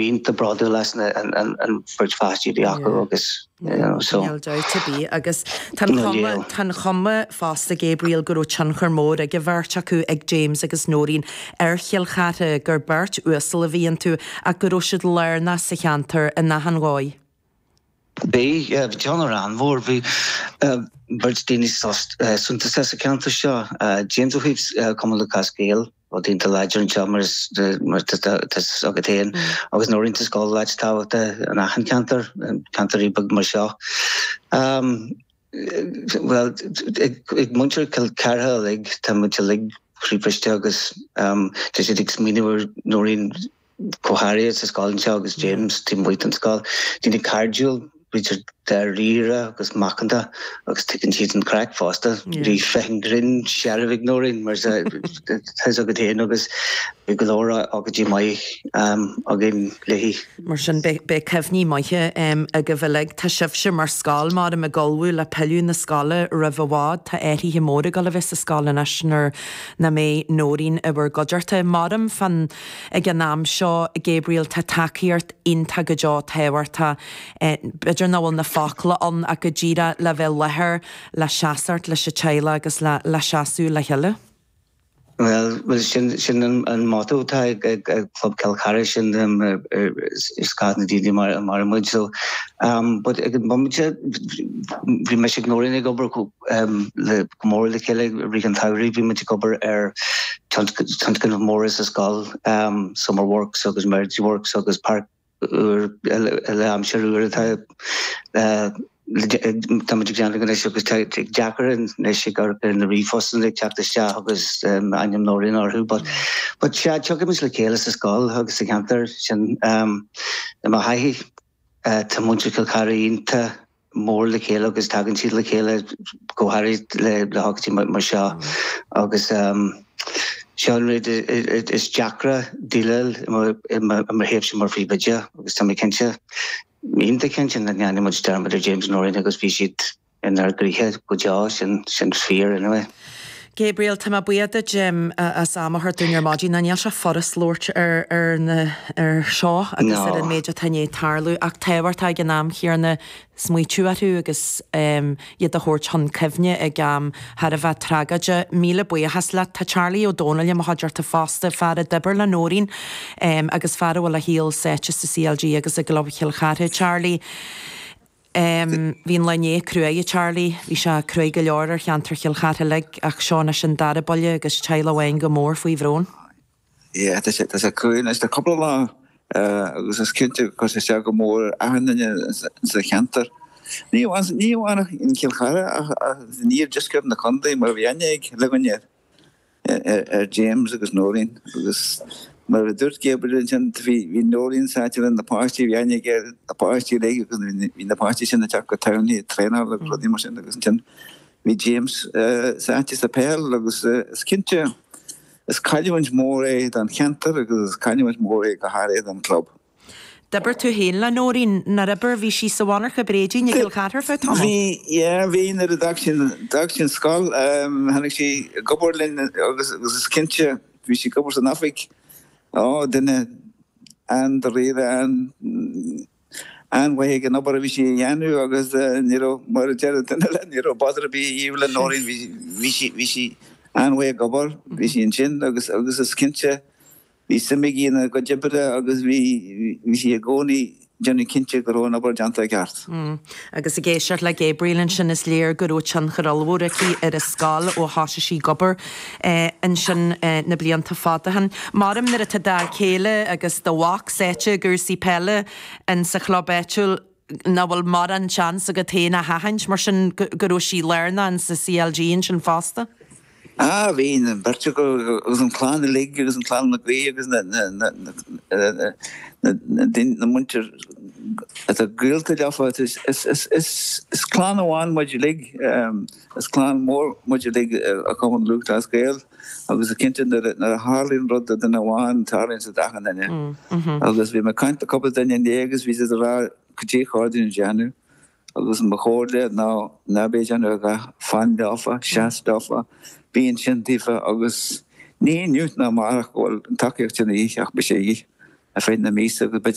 iontach bródúil as an bheirt pháistí a bhí acu agus you know so. Níl dabht ar bith agus tá an chuma, tá an chuma fosta Gabriel go raibh tionchar mór ag an bheirt acu, ag James agus Nóirín ar Chill Chartha, gur beirt uasal a bhí iontu ach go raibh siad lárnach sa cheantar in achan dhóigh. Bhí, yeah, bhí tionchar an-mhór. Bhí beirt daoine suntasach sa cheantar seo, James ó thaobh Cumann Lúthchleas Gael, rud iontach láidir anseo mar is mar tá a fhios agat féin, agus Nóirín sa scoil áit tábhachtach in achan cheantar, ceantar beag mar seo. Bhuel, ag muintir Chill Chartha uilig, tá muid uilig croíbhriste agus tá siad ag smaoineamh ar Nóirín go háirithe sa scoil anseo agus James taobh amuigh den scoil. Daoine cairdiúil, b'fhéidir dáiríre agus macánta agus tuigeann siad an craic fosta. Bhí fonn grinn searbh ag Nóirín mar tá fhios agat féin agus bhí go leor ócáidí maith againn léi. Mar sin beidh cuimhní maithe agaibh uilig. Tá sibhse mar scoil, maram, ag ullmhú le pilleadh na scoile roimh i bhfad. Tá athruithe móra ag dul a bheith sa scoil anois nuair nach mbeidh Nóirín i bhur gcuideachta. Maram fán Ag an am seo, Gabriel, tá tacaíocht iontach go deo tábhachtach. B'fhéidir nach bhfuil na focla ann ach go díreach le bheith i láthair, le seasacht leis an teaghlach agus le le seasamh le chéile. Bhuel, bhuel sin sin an motto atá ag ag Club Chill Chartha, sin is scoth na daoine mar a maireann muid. So, but ag an bomaite, bhí mise ag Nóirín ag obair le go mór le chéile i rith an tsamhraidh. Bhí muid ag obair ar tionscnaimh mhóra sa scoil, Summer Works agus Emergency Works agus páirc úr le aimsir úr atá tá muid ag déanamh anois agus tá deacair anois ag amharc ar na ríomhphostanna ag teacht isteach agus ainm Nóirín orthu but but sea tiocfaimid le chéile sa scoil agus sa cheantar sin i mo thaithí tá muintir Chill Chartha iontach mór le chéile agus tagann siad le chéile go háirid le hócáidí mar seo agus seo an rud is deacra déileáil i mo thaobhse mar phríomhoide agus tá mé cinnte, iontach cinnte nach ndéanfaidh muid dearmad ar James Nóirín agus bhí siad inár gcroíthe go deo, sin fíor anyway. Gabriel, tá mé buíoch duit as am a thabhairt dúinn ar maidin. Níl sé furast labhairt ar ar na ar seo agus ar an méid atá i ndiaidh tarlú ach tábhachtach ag an am chéanna smaoitiú orthu agus iad a thabhairt chun cuimhne ag am thar a bheith tragóideach. Míle buíochas leat. Tá Charlie Ó Dónaill i mo chuideachta fosta, fear a d'oibir le Nóirín agus fear a bhfuil a shaol sáite sa CLG agus i gClub Chill Chartha. Charlie. Bhí an lá inné cruaidh, a Charlie. Bhí sé cruaidh go leor ar cheantar Chill Chartha uilig ach seo anois an dara buille agus teaghlach amháin go mór faoi bhrón. Yeah, tá sé, tá sé cruaidh anois le cúpla lá agus is cinnte gur chuir sé isteach go mór ar achan duine sa cheantar. Ní amháin, ní amháin in Cill Chartha ach in iardheisceart na contae mar bhí aithne ag chuile dhuine air. ar James agus Nóirín agus mar a dúirt Gabriel ansin bhí Nóirín sáite le na páistí, bhí aithne aige ar na páistí uilig agus bhí na páistí sin ag teacht go Tamhnaigh ag traenáil agus rudaí mar sin agus ansin bhí James sáite sa peil agus is cinnte is cailliúint mór é don cheantar agus is cailliúint mór é go háirithe don chlub. D'oibir tú féin le Nóirín, nár oibir? Bhí sí sa mhonarcha bréidín i gCill Chartha ar feadh tamaill. Bhí, yeah, bhí nuair a d'fhág sí, d'fhág sí an scoil, tháinig sí ag obair linn agus agus is cinnte bhí sí ag obair san oifig, ó, duine an-dáiríre, an, an-mhaith ag an obair a bhí sí a dhéanamh agus ní raibh, mar a deir duine eile, ní raibh bother ar bith a dhíobh le Nóirín, bhí, bhí sí, bhí sí an-mhaith ag obair, bhí sí ansin agus agus is cinnte, Bhí suim aici ina cuid oibre agus bhí sí i gcónaí ag déanamh cinnte go raibh an obair déanta i gceart. Agus ag éisteacht le Gabriel ansin is léir go raibh tionchar ollmhór aici ar an scoil ó thosaigh sí ag obair ansin na blianta fada ó shin. Maram nuair atá d'fhear céile agus do mhac sáite i gcúrsaí peile in sa chlub áitiúil, nach bhfuil mórán seans agat féin a sheachaint, mar sin, go raibh sí lárnach in sa CLG ansin fosta? Ah, bhí an bheirt acu agus an chlann uilig agus an chlann Mac Aoidh agus na, na, na, na, na, na daoine, na muintir atá gaolta leofa. Is, is, is, is, is clann amháin muid uilig, is clann mhór muid uilig i Cumann Lúthchleas Gael agus cinnte nuair a, nuair a tharlaíonn rud do duine amháin, tarlaíonn sé d'achan duine. Agus bhí mé ag caint le cúpla duine inné agus bhí siad ag rá cad é chóir dúinn a dhéanamh. Agus mo chomhairle ná ná bí ag déanamh a dhath, fan leofa, seas leofa, bí ansin daofa agus ní inniu ná amárach go bhfuil an tacaíocht sin a dhíth ach beidh sé a dhíth ar feadh na míosa agus b'fhéidir na.